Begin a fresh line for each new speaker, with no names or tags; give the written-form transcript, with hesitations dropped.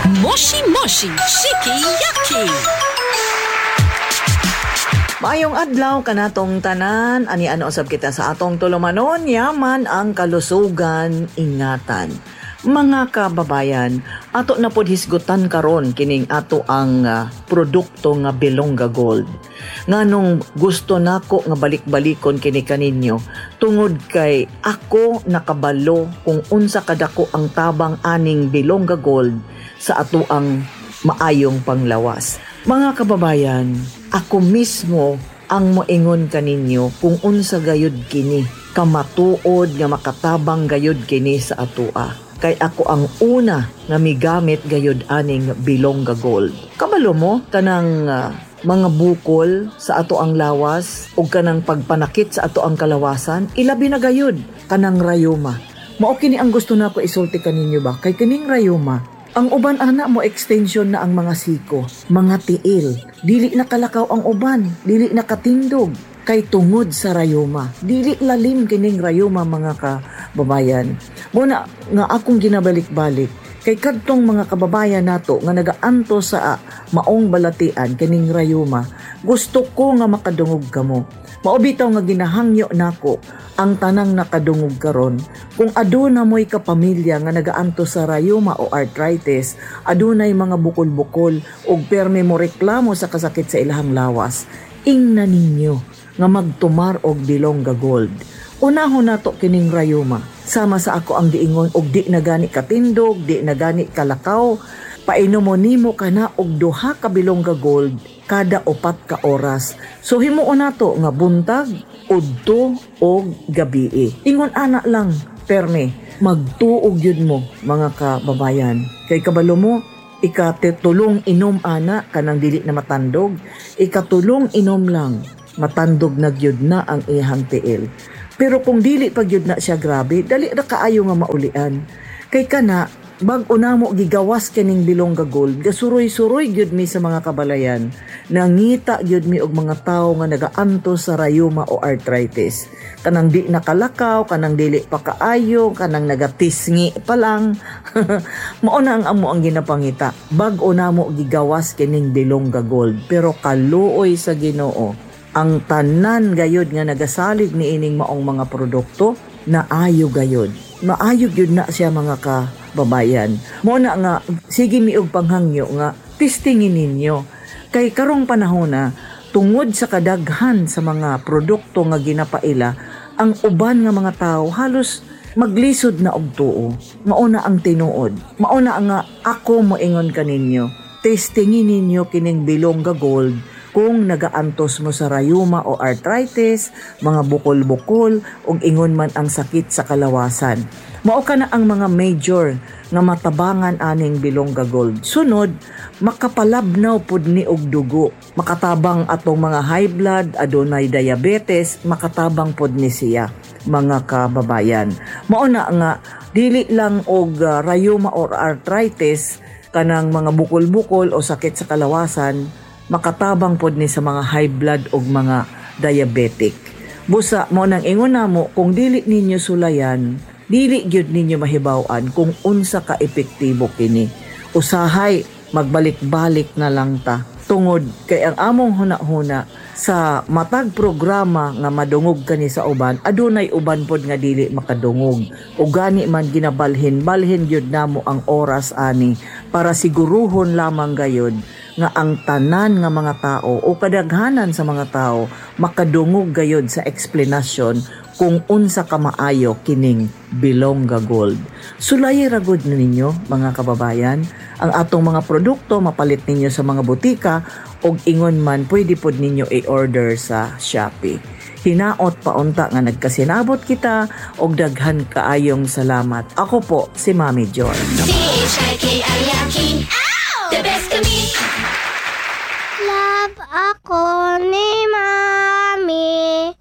Moshi Moshi Shiki Yaki.
Maayong adlaw kanatong tanan, ani ano usab kita sa atong tulumanon, yaman ang kalusugan, ingatan. Mga kababayan, ato na pod hisgutan karon kining ato ang produkto nga Bilongga Gold. Nganong gusto nako nga balik-balikon kini kaninyo tungod kay ako nakabalo kung unsa kadako ang tabang aning Bilongga Gold sa ato ang maayong panglawas. Mga kababayan, ako mismo ang moingon kaninyo kung unsa gayud kini kamatuod nga makatabang gayud kini sa atoa. Kay ako ang una nga migamit gayud aning Bilongga Gold. Kabalo mo kanang mga bukol sa ato ang lawas ug kanang pagpanakit sa ato ang kalawasan, ilabi na gayud kanang rayuma. Mao kini ang gusto nako isulti kaninyo ba? Kay kining rayuma, ang uban ana mo extension na ang mga siko, mga tiil. Dili na kalakaw ang uban, dili na katindog kay tungod sa rayuma. Dili lalim kining rayuma, mga kababayan. Muna nga akong ginabalik-balik kay kadtong mga kababayan nato nga nagaanto sa maong balatian kining rayuma, gusto ko nga makadungog kamo. Mao bitaw nga ginahangyo nako ang tanang nakadungog karon kung aduna mo'y kapamilya nga nagaanto sa rayuma o arthritis, adunay mga bukol-bukol ug perme mo reklamo sa kasakit sa ilahang lawas, ingna ninyo nga magtumar og Bilongga Gold. Unahon nato kining rayuma. Sama sa ako ang giingon og di na gani katindog, di na gani kalakaw, painomon nimo kana og 2 ka Bilongga Gold kada 4 ka oras. So himuon nato nga buntag, udto og gabii. Ingon ana lang perme, magtuog yun mo, mga kababayan. Kay kabalo mo, ikatulong inom ana kanang dili na matandog, ikatulong inom lang, matandog na gyud na ang iyang tiil. Pero kung dili pa gyud na siya grabe, dali ra kaayo nga maulian. Kay kana bag-o namo gigawas kining Bilongga Gold, gasuroy-suroy gyud mi sa mga kabalayan. Nangita gyud mi og mga tawo nga nagaanto sa rayuma o arthritis. Kanang di nakalakaw, kanang dili pa kaayo, kanang nagatisngi pa lang. Mao na ang amo ang ginapangita. Bag-o namo gigawas kining Bilongga Gold, pero kaluoy sa Ginoo ang tanan gayud nga nagasalig niining maong mga produkto naayo gayud. Maayo gyud na siya, mga kababayan. Mo na nga sige mi og panghangyo nga testingin ninyo. Kay karong panahon na tungod sa kadaghan sa mga produkto nga ginapaila, ang uban nga mga tawo halos maglisod na og tuo. Mao na ang tinuod. Mao na nga ako moingon kaninyo. Testingin ninyo kining Bilongga Gold kung nagaantos mo sa rayuma o arthritis, mga bukol-bukol, ug ingon man ang sakit sa kalawasan. Mao ka na ang mga major nga matabangan aning Bilongga Gold. Sunod, makapalabnaw pud ni og dugo. Makatabang atong mga high blood, adunay diabetes, makatabang pud ni siya, mga kababayan. Mao na nga dili lang og rayuma or arthritis, kanang mga bukol-bukol o sakit sa kalawasan, makatabang pod ni sa mga high blood og mga diabetic. Busa mo nang ingon namo, kung dili ninyo sulayan, dili gyud ninyo mahibaw-an kung unsa ka epektibo kini. Usahay magbalik-balik na lang ta tungod kay ang among huna-huna sa matag programa nga madungog kani sa uban, adunay uban pod nga dili makadungog. O gani man ginabalhin-balhin gyud namo ang oras ani para siguruhon lamang gayud nga ang tanan nga mga tao o kadaghanan sa mga tao makadungog gayud sa eksplenasyon kung unsa ka maayo kining Bilongga Gold. Sulayi ra gud ninyo, mga kababayan, ang atong mga produkto mapalit ninyo sa mga butika og ingon man pwede pod ninyo i-order sa Shopee. Hinaot paunta nga nagkasinabot kita og daghan kaayong salamat. Ako po si Mami Joy.
C-H-I-K-I-Y-A-K-I. The best kami.
Love ako ni Mami.